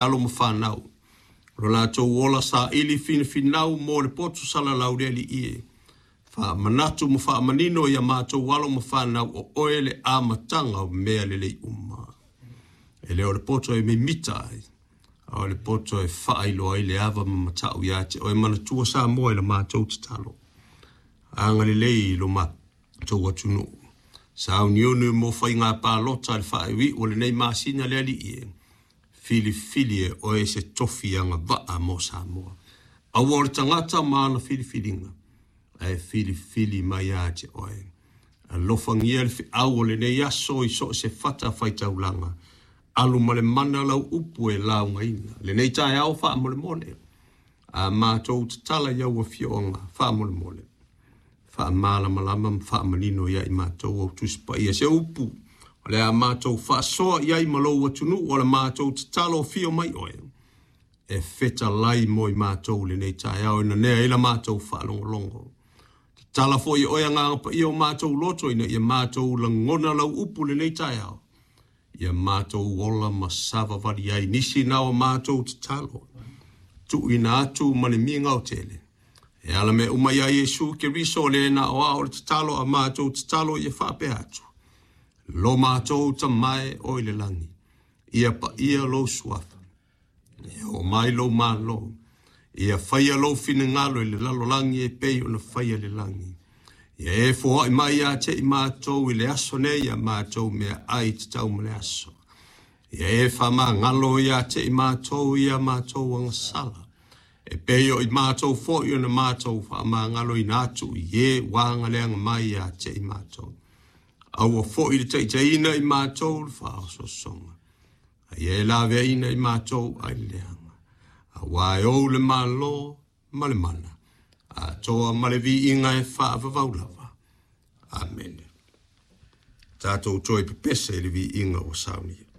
Alo ma fanau, o lo latou ola saili finafinau mo le poto salalau le Alii e. Faamanatu ma faamanino ia matou alo ma fanau o oe le amataga o mea lelei uma. E le o le poto e mimita ai, a o le poto e faailoa ai le ava ma matau ia te oe. Manatua Samoa i la matou tatalo. Agalelei i lo matou atunuu. Sauniuni mo faiga palota i le faaiuiu o lenei masina le Alii e. Filifili e oe se tofi agavaa mo Samoa. Aua o le tagata ma ana filifiliga, ae filifili mai ia te oe. Alofagia le feau o lenei aso i so o se fata faitaulaga. Alu ma le mana lau upu e laugaina. Lenei taeao faamolemole. A matou tatala i au afioga faamolemole. Faamalamalama ma faamanino ia i matou au Tusi Paia se upu o le a matou faasoa i ai ma lou atunuu o le matou tatalo afio mai oe e fetalai mo i matou lenei taeao e nanea ai la matou faalogologo. Tatala foi e oe Agaga Paia o matou loto ina ia matou lagona lau upu lenei taeao. Ia matou ola ma savavali ai nisi na o matou tatalo. Tuuina atu ma le migao tele. E ala mea uma ia Iesu Keriso le na o ao le tatalo a matou tatalo ia faapea atu. Lo matou Tama e o i le lagi, ia paia lou suafa, ia oo mai lou Malo, ia faia lou finagalo i le lalolagi e pei ona faia i le lagi. Ia e foai mai ia te i matou i le aso nei a matou meaai tatau ma le aso. Ia e faamagalo ia te i matou i a matou agasala, e pei o i matou foi ona matou faamagaloina atu i e ua agaleaga mai ia te i matou. Aua foi le taitaiina i matou i le faaosoosoga, a ia e laveaiina i matou ai le leaga. Aua e ou le Malo ma le mana, atoa ma le viiga e faavavau lava. Amene. Tatou toe pepese i le viiga ua saunia.